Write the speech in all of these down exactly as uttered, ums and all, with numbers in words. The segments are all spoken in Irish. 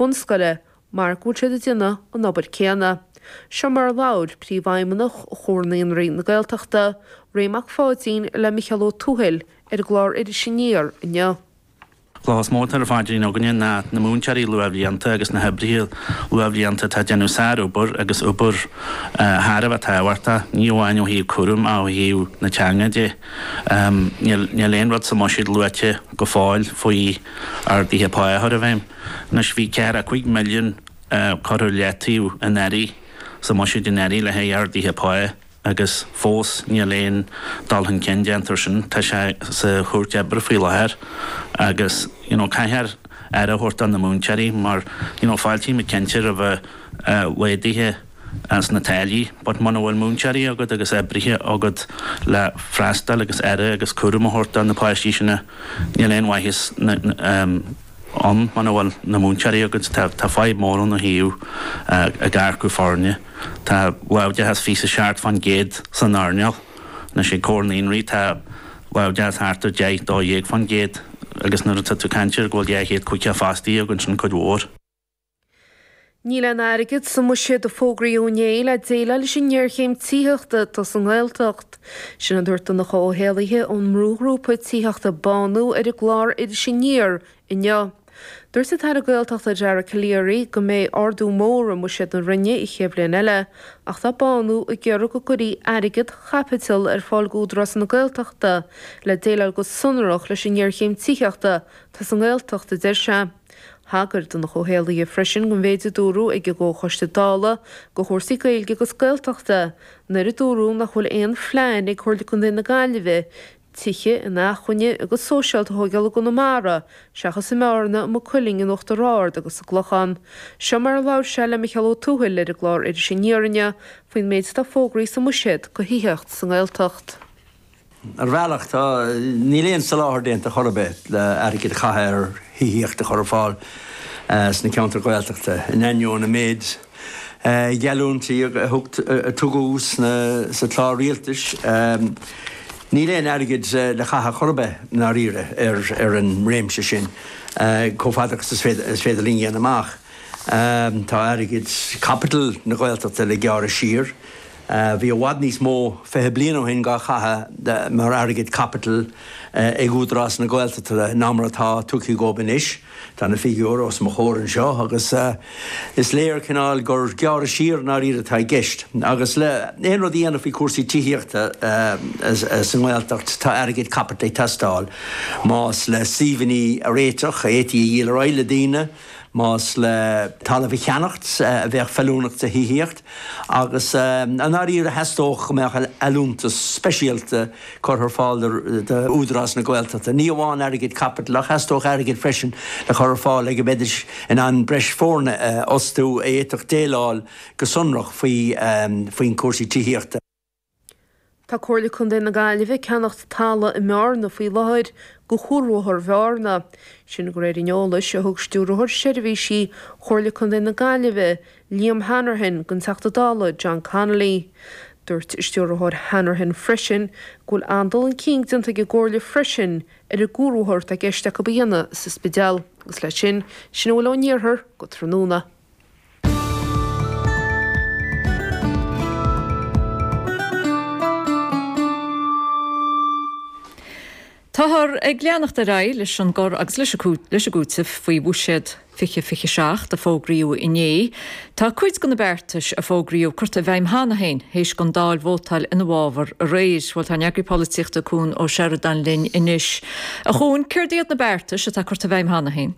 bunscoile mar go bhfuil siad ag déanamh an obair céanna. Seo mar a labhair Príomhfheidhmeannach Chomhar Naíonraí na Gaeltachta, Ray Mac Pháidín le Micheál Ó Tuathail ar an gclár Iris Aniar inniu. Cloch is mó atá ar phaidrín againne ná na múinteoirí luathbhlianta agus na hoibrithe luathbhlianta atá ag déanamh sárobair agus obair thar a bheith tábhachtach, ní amháin ó thaobh cúraim ach ó thaobh na teanga de. Níl aon rud sa mbuiséad luaite go fóill faoi arduithe pá a chur i bhfeidhm. Anois bhí ceathracha cúig milliún curtha ar leataobh anuraidh sa mbuiséad anuraidh le haghaidh arduithe pá agus fós níl aon dul chun cinn déanta ar sin. Tá sé sa chúirt oibre faoi láthair agus you know caithfear aire a thabhairt do na múinteoirí mar you know fáiltímid cinnte roimh laghduithe sna táillí but muna bhfuil múinteoirí agat agus oibrithe agat le freastal agus aire agus cúram a thabhairt do na páistí sin níl aon mhaitheas ann muna bhfuil na múinteoirí agat. Tá tá fadhb mór ann ó thaobh ag earcú foirne. Tá láimhdeachas fiche a seacht faoin gcéad san earnáil. Anois ag Comhar Naíonraí tá láimhdeachas thart ar deich, dó dhéag faoin gcéad agus nuair atá tú ag caint ar go bhfuil dhá chéad caoga fostaí againn sin cuid mhór. Níl aon airgead sa mbuiséad a fógraíodh inné le déileáil leis an ngéarchéim tithíochta atá sa nGaeltacht. Sin a dúirt Donncha Ó hÉallaithe ón mbrúghrúpa tithíochta Bánú ar an gclár Iris Aniar inniu. Dúirt an tAire Gaeltachta Dara Calleary go mbeidh ardú mór i mbuiséad na Roinne an chéad bhliain eile ach tá Bánú ag iarraidh go gcuirfí airgead chaipitil ar fáil d'Údarás na Gaeltachta le déileáil go sonrach leis an ngéarchéim tithíochta atá sa nGaeltacht, a deir sé. Thagair Donncha Ó hÉallaithe freisin don mhéid a dúradh ag an gComhchoiste Dála do chúrsaí Gaeilge agus Gaeltachta nuair a dúradh nach bhfuil aon phlean ag Comhairle Contae na Gaillimhe tithe inacmhainne agus sóisialta a thógáil i gConamara seachas i mBearna, i Maigh Cuilinn, in Uachtar Ard agus sa gClochán. Seo mar a labhair sé le Micheál Ó Tuathail ar an gclár Iris Aniar inniu faoin méid atá fógraithe sa mbuiséad do thithíocht sa nGaeltacht. Ar bhealach, tá, níl aon soláthar déanta chor ar bith le airgead a chaitheamh ar thithíocht a chur ar fáil sna ceantair Ghaeltachta, in ainneoin an méid geallúintí a tugadh sa chlár rialtais. Níl aon airgead le caitheamh chor ar bith i ndáiríre ar an réimse sin, chomh fada agus is féidir linn a dhéanamh amach. Tá airgead caipitil na Gaeltachta le gearradh siar. Bhí i bhfad níos mó fiche bliain ó shin dhá chaitheamh mar airgead caipitil ag Údarás na Gaeltachta ná mar atá tugtha dhóibh anois. Tá na figiúirí os mo chomhair anseo agus is léir cineál gur gearradh siar i ndáiríre atá i gceist. Agus le aon rud a dhéanamh faoi chúrsaí tithíochta sa nGaeltacht tá airgead caipitil ag teastáil. Más le suíomhanna a réiteach, a fhéadfaí a dhíol ar aghaidh le daoine, más le talamh a cheannacht a bheadh feiliúnach do thithíocht, agus i ndáiríre theastódh go mbeadh allúntas speisialta curtha ar fáil d'Údarás na Gaeltachta, ní amháin airgead caipitil ach theastódh airgead freisin le chur ar fáil le go mbeidís in ann breis foirne a fhostú a fhéadfadh déileáil go sonrach faoi faoin cúrsaí tithíochta. Tá Comhairle Contae na Gaillimhe ag ceannacht talamh i mBearna faoi láthair do Chuarbhóthar Bhearna. Sin de réir an eolais a thug Stiúrthóir Seirbhísí Chomhairle Contae na Gaillimhe, Liam Hanrahan, don Teachta Dála John Connolly. Dúirt Stiúrthóir Hanrahan freisin go bhfuil an-dul chun cinn déanta ag an gComhairle freisin ar an gcuarbhóthar atá i gceist acu a dhéanamh sa Spidéal. Agus leis sin, sin a bhfuil ón iarthar go tráthnóna. Táthar ag leanacht ar aghaidh leis an gcur agus leis an gcúiteamh faoi Bhuiséad fiche fiche seacht a fógraíodh inné. Tá cuid de na beartais a fógraíodh curtha i bhfeidhm cheana féin théis don Dáil vótáil ina bhfabhar aréir. Bhuel, tá ár n-eagraí polaitíochta Cuan Ó Seireadáin linn anois. A Chuain, céard iad na beartais atá curtha i bhfeidhm cheana féin?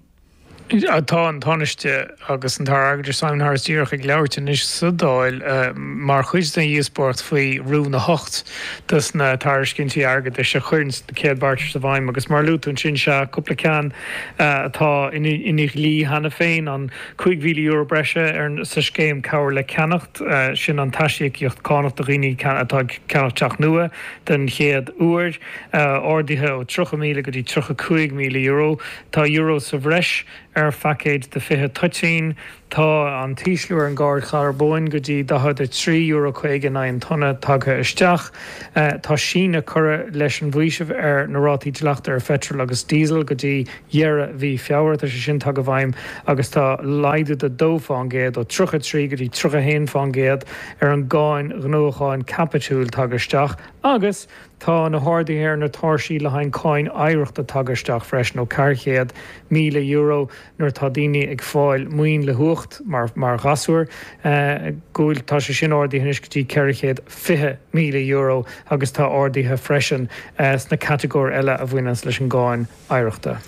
Tá an Tánaiste agus an tAire Airgeadais Simon Harris díreach ag labhairt anois sa Dáil mar chuid den dhíospóireacht faoi Rún a hocht dos na tairiscintí airgeadais a chuireann na céad beartais i bhfeidhm agus mar a luaigh tú ansin sea cúpla ceann atá ina dhlí cheana féin, an cúig mhíle euro breise sa scéim Cabhair le Ceannacht, sin an t-aisíocaíocht cánach do dhaoine atá ag ceannacht teach nua den chéad uair, ardaithe ó tríocha míle go dtí tríocha cúig míle euro. Tá euro sa bhreis ar phaicéad de fiche toitín. Tá an t-ísliú ar an gcáin charbóin go dtí daichead a trí euro caoga in aghaidh an tonna tagtha isteach. Tá síneadh curtha leis an bhfaoiseamh ar na rátaí dleachta ar pheitreal agus díosal go dtí dheireadh mhí Feabhra. Tá sé sin tagtha i bhfeidhm agus tá laghdú de dó fán gcéad, ó tríocha a trí go dtí tríocha a haon fán gcéad, ar an gcáin ghnóthacháin caipitiúil tagtha isteach agus tá na harduithe ar na tairsí le haghaidh cáin oidhreachta tagtha isteach freisin ó ceathair chéad míle euro nuair atá daoine ag fáil maoin le huacht mar mar ghasúr go bhfuil tá sé sin ardaithe anois go dtí ceithre chéad fiche míle euro agus tá arduithe freisin sna catagóir eile a bhaineanns leis an gcáin oidhreachta.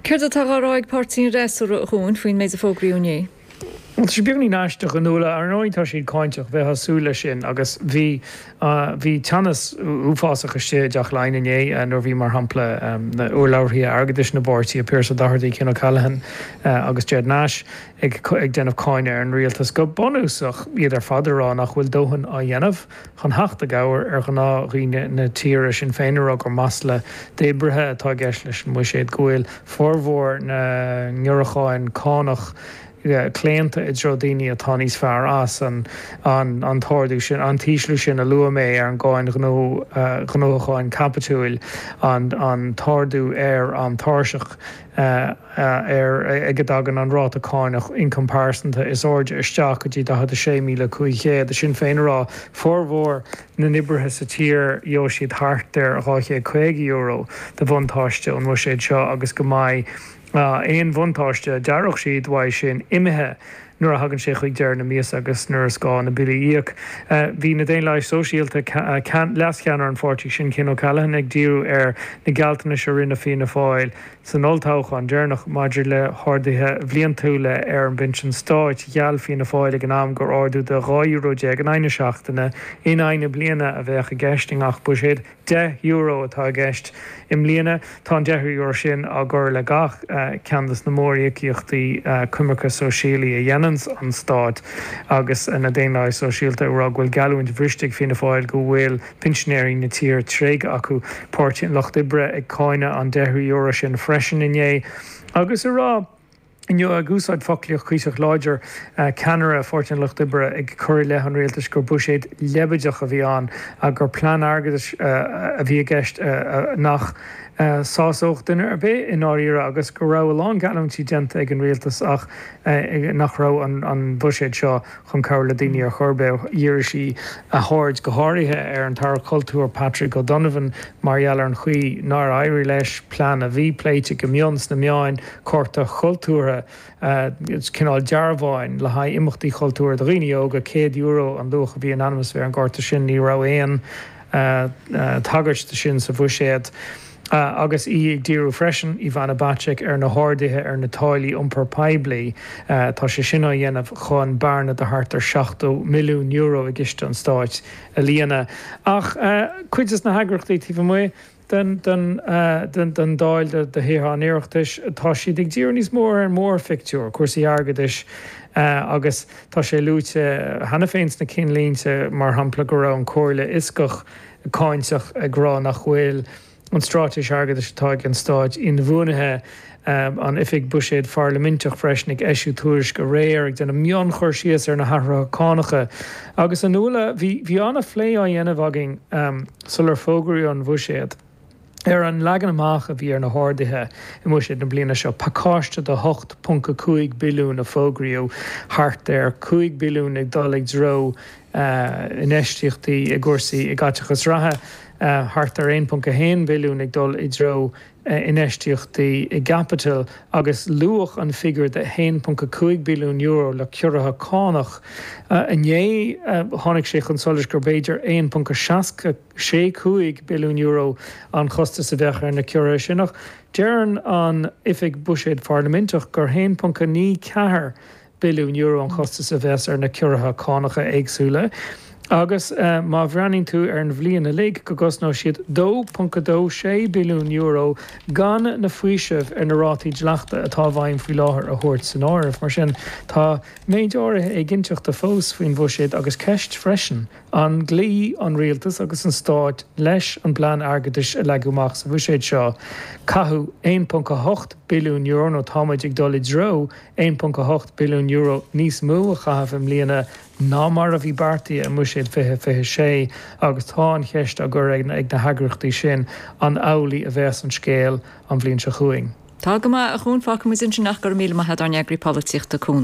Céard atá á rá ag páirtí an fhreasúra a Chuain faoin méid a fógraíodh inné? Bhuel, tá sé beagáinín aisteach, a Nuala. Ar ndóigh tá siad cáinteach, bheifeá ag súil leis sin agus bhí bhí teannas uafásach istigh i dTeach Laighean inné nuair a bhí, mar shampla, na urlabhraithe airgeadais na bpáirtithe, Pearse Doherty, Cian O'Callaghan agus Ged Nash ag ag déanamh cáineadh ar an rialtas. Go bunúsach, iad ar fad ag rá nach bhfuil dóthain á dhéanamh chun theacht i gcabhair ar ghnáthdhaoine na tíre. Sinn Féin ag rá gur masla d'oibrithe atá i gceist leis an mbuiséad, go bhfuil formhór na ngiorrúchán cánach claonta i dtreo daoine atá níos fearr as, an an t-ardú sin, an t-ísliú sin a luaigh mé ar an gcáin ghnóthacháin caipitiúil, an an t-ardú ar an tairseach ar ag a dtagann an ráta cánach ioncam pearsanta is airde isteach go dtí daichead a sé míle cúig chéad. Sinn Féin ag rá formhór na n-oibrithe sa tír gheobhaidh siad thart ar dhá chéad caoga euro de bhuntáiste ón mbuiséad seo agus go mbeidh aon bhuntáiste a d'éireodh siad uaidh sin imithe nuair a thagann sé chuig deireadh na míosa agus nuair is gá na billí a íoc. Bhí na Daonlathaigh Sóisialta, leascheannaire an pháirtí sin, Cian O'Callaghan, ag díriú ar na gealltanais a rinne Fianna Fáil san olltoghchán deireanach maidir le harduithe bhliantúla ar an bpinsean stáit. Gheall Fianna Fáil ag an am gur ardú de dhá euro déag in aghaidh na seachtaine in aghaidh na bliana a bheadh i gceist i ngach buiséad. Deich euro atá i gceist i mbliana. Tá an deich euro sin á gcur le gach ceann de na móríocaíochtaí coimirce sóisialaí a dhéananns an Stát agus na Daonlathaigh Sóisialta ag rá go bhfuil geallúint bhriste ag Fianna Fáil go bhfuil pinsinéirí na tíre tréigthe acu. Páirtí an Lucht Oibre ag cáineadh an deich euro sin freisin inné agus ag rá inniu, ag úsáid foclaíocht cuíosach láidir, ceannaire Pháirtí an Lucht Oibre ag cur i leith an rialtais gur buiséad leibideach a bhí ann agus gur plean airgeadais a bhí i gceist nach sásódh duine ar bith i ndáiríre agus go raibh a lán geallúintí déanta ag an rialtas ach nach raibh an buiséad seo chun cabhrú le daoine ar chor ar bith. Dhírigh sí a haird go háirithe ar an tAire Cultúir Patrick O'Donovan mar gheall ar an chaoi nár éirigh leis plean a bhí pléite go mion sna meáin, cárta cultúrtha, cineál dearbháin le haghaidh imeachtaí cultúrtha do dhaoine óga, céad euro an luach a bhí in ainm is a bheith ar an gcárta sin, ní raibh aon tagairt de sin sa bhuiséad. Agus í ag díriú freisin, Ivana Bacik, ar na harduithe ar na táillí iompair poiblí, tá sé sin á dhéanamh chun bearna de thart ar seachtó milliún euro i gciste an stáit a líonadh. Ach cuid de na heagraíochtaí taobh amuigh den Dáil, de Thithe an Oireachtais, tá siad ag díriú níos mó ar an mórphictiúr, cúrsaí airgeadais agus tá sé luaite cheana féin sna cinnlínte, mar shampla, go raibh an Chomhairle Fhioscach cáinteach ag rá nach bhfuil an straitéis airgeadais atá ag an Stát inbhuanaithe, an Oifig Buiséid Pharlaiminteach freisin ag eisiú tuairisc aréir ag déanamh mionchur síos ar na hathruithe cánacha. Agus a Nuala, bhí bhí an-phlé á dhéanamh againn sular fógraíodh an Bhuiséad ar an leagan amach a bhí ar na harduithe i mBuiséad na bliana seo, pacáiste de hocht ponc a cúig billiún a fógraíodh, thart ar cúig billiún ag dul i dtreo infheistíochtaí i gcúrsaí i gcaiteachas reatha, thart ar aon ponc a haon billiún ag dul i dtreo infheistíochtaí i gcaipiteal agus luadh an figiúr de haon ponc a cúig billiún euro le ciorruithe cánach. Inné tháinig sé chun solais gur b'fhéidir aon ponc a seasca sé cúig billiún euro an chostas a bheadh ar na ciorruithe sin ach deireann an Oifig Buiséid Pharlaiminteach gur haon ponc a naoi ceathair billiún euro an chostas a bheas ar na ciorruithe cánacha éagsúla. Agus má bhreathnaíonn tú ar an bhliain uilig, go gcosnóidh siad dó ponc a dó sé billiún euro gan na faoisimh ar na rátaí dleachta atá i bhfeidhm faoi láthair a thabhairt san áireamh. Mar sin, tá méid áirithe éiginnteachta fós faoin bhuiséad agus ceist freisin, an gcloífidh an rialtas agus an stát leis an bplean airgeadais a leagadh amach sa bhuiséad seo? Caitheadh aon ponc a hocht billiún euro, nó tá muid ag dul i dtreo aon ponc a hocht billiún euro níos mó a chaitheamh i mbliana ná mar a bhí beartaithe i mBuiséad fiche fiche sé agus tá an cheist á gcur ag na heagraíochtaí sin an amhlaidh a bheas an scéal an bhliain seo chugainn. Tá go maith, a Chuain, fágfaidh muid ansin ach go raibh míle maith agat ár n-eagraí polaitíochta, Cuan Ó.